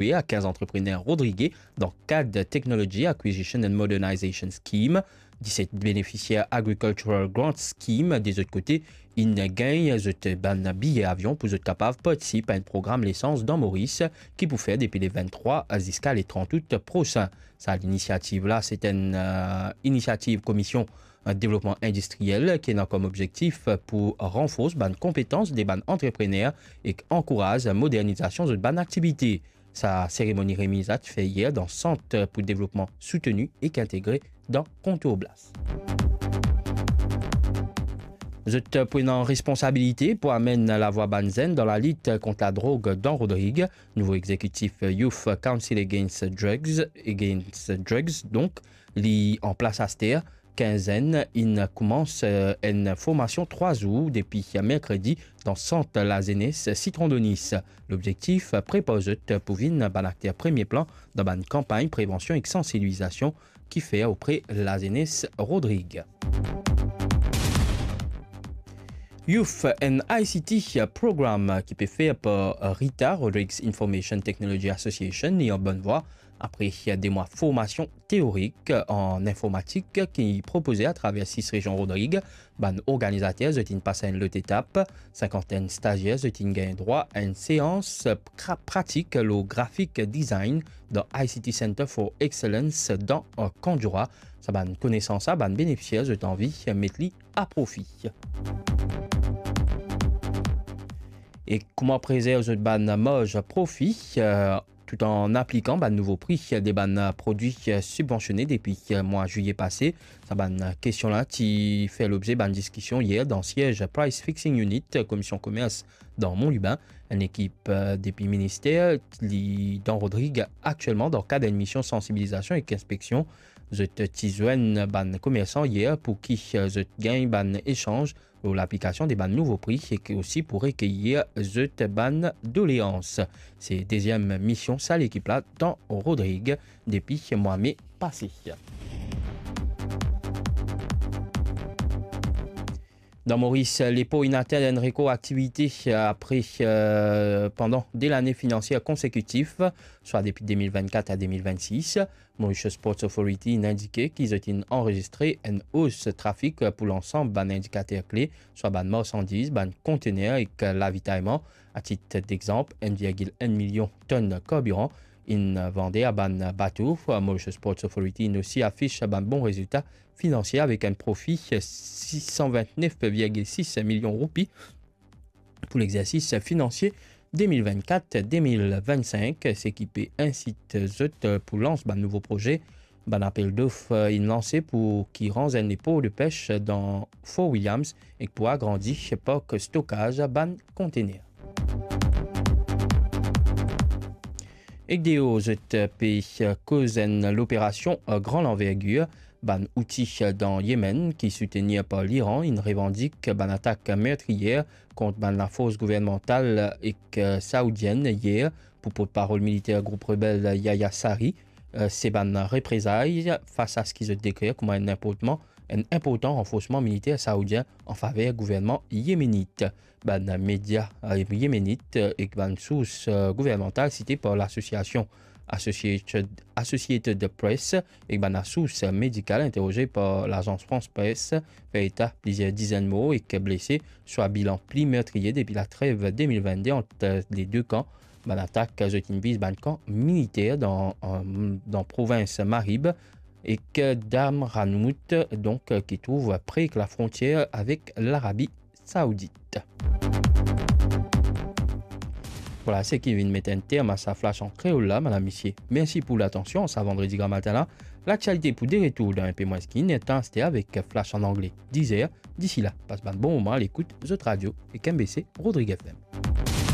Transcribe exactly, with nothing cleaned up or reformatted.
software a kinz antreprener rodrige dan kad Technology Acquisition and Modernization Scheme. Diset benefisier Agricultural Grant Scheme, de zot kote, inn gagn zot bann biye avion pou zot kapav partisip a enn program lesans dan Moris ki pou fer depi le venntrwa ziska le trant out prosin. Sa linisiativ la, se enn, eh, inisiativ Komisyon, eh, Devlopman Indistriyel ki ena kom obzektif pou ranfors bann konpetans de bann antreprener ek ankouraz modernizasion zot bann aktivite. Sa seremoni remiz la ti fer yer dan Sant pou Devlopman Souteni ek Integre dan Kontour Blas. Zot pou ena responsabilite pou amenn lavwa bann zenn dan lalit kont ladrog dan Rodrig. Nouvo exekitif Youth Council Against Drugs, Against Drugs, donk, li an plas aster. Kinz zenn inn koumans, eh, enn formasion trwa zour depi merkredi dan Sant Lazenes Sitron Donis. Lobzektif, prepar zot pou vinn bann akter premie plan dan bann kanpagn prevansion ek sansibilizasion ki fer opre lazenes Rodrig. Youth and I C T Program ki pe fer par Rita, Rodrigues Information Technology Association, li an bonn vwa apre de mwa formasion teorik an informatik ki propoze atraver sis rezion Rodrig. Bann organizater zot inn pas a enn lot etap. Sinkantenn stazier zot inn gagn drwa a enn seans pra-, pratik lor graphic design dan I C T Center for Excellence dan, eh, Kandjoura. Sa bann konesans la, bann benefisier zot anvi met li a profi. E kouma prezerv zot bann marz profi, eh, tout an aplikan bann nouvo pri de bann prodwi sibvansione depi mwa zilye pase. Sa bann kestion la ti fer lobze bann diskision yer dan siez Price Fixing Unit, Komisyon Komers dan Mont Lubin. Enn ekip, eh, depi minister li dan Rodrig aktielman dan kad enn mision sansibilizasion ek inspeksion. Zot ti zwenn bann komersan yer pou ki, eh, zot gagn bann esanz lor laplikasion de bann nouvo pri ek osi pou rekeyir zot bann doleans. Se deziem mision sa lekip la dan Rodrig depi mwa me pase. Dan Moris, lepor inn atenn enn rekor aktivite apre, eh, pandan de lane finansier konsekitif, swa depi de mil vennkat a de mil vennsis. Mauritius Ports Authority inn indike ki zot inn anrezistre enn os trafik pou lansam bann indikater kle, swa bann marsandiz, bann kontener ek lavitayman. Atit dexanp, enn virgil enn milion tonn karbiran inn vande a bann bato. Mauritius Ports Authority inn osi afis bann bon rezilta finansie avek enn profi sis san vintnef virgil sis milion roupi pou lexersis finansie de mil vennkat de mil vennsink, seki pe insit zot pou lans bann nouvo proze. Bann apel dof inn lanse pou ki ranz enn lepor de pes dan Fort Williams ek pou agrandi park stokaz bann kontener. Ek deor zot pe koz enn loperasion gran lanvergir, bann Houthi dan Yemen ki soutenir par Liran inn revandik bann atak mertriyer kont bann lafors gouvernmantal ek saoudienn yer. Pou portparol militer group rebel Yahya Saree, eh, se bann reprezay fas a seki zot dekrir kouma enn inportman, enn inportan ranforsman militer saoudien an faver gouvernman yemenit. Bann media, eh, yemenit, eh, ek bann sours, eh, gouvernmantal site par lasosiasion Associated, Associated Press ek bann sours medikal interoze par Lazans France Presse fer eta plizier dizenn mor ek blese, swa bilan pli mertriye depi latrev de mil vennde ant le de kan. Bann atak zot inn viz bann kan militer dan, eh, dan provins Marib ek Damranout, donk, ki trouv pre ek lafrontier avek Larabi Saoudit. Vwala, seki vinn met enn term a sa flash an kreol la, madam, misie. Mersi pou latansion. Sa vandredi gramatin la, laktialite pou de retour dan inpe mwins ki enn er tan, aster avek flash an angle, diz er. Disi la, pas bann bon moman a lekout zot radio ek M B C Rodrig F M.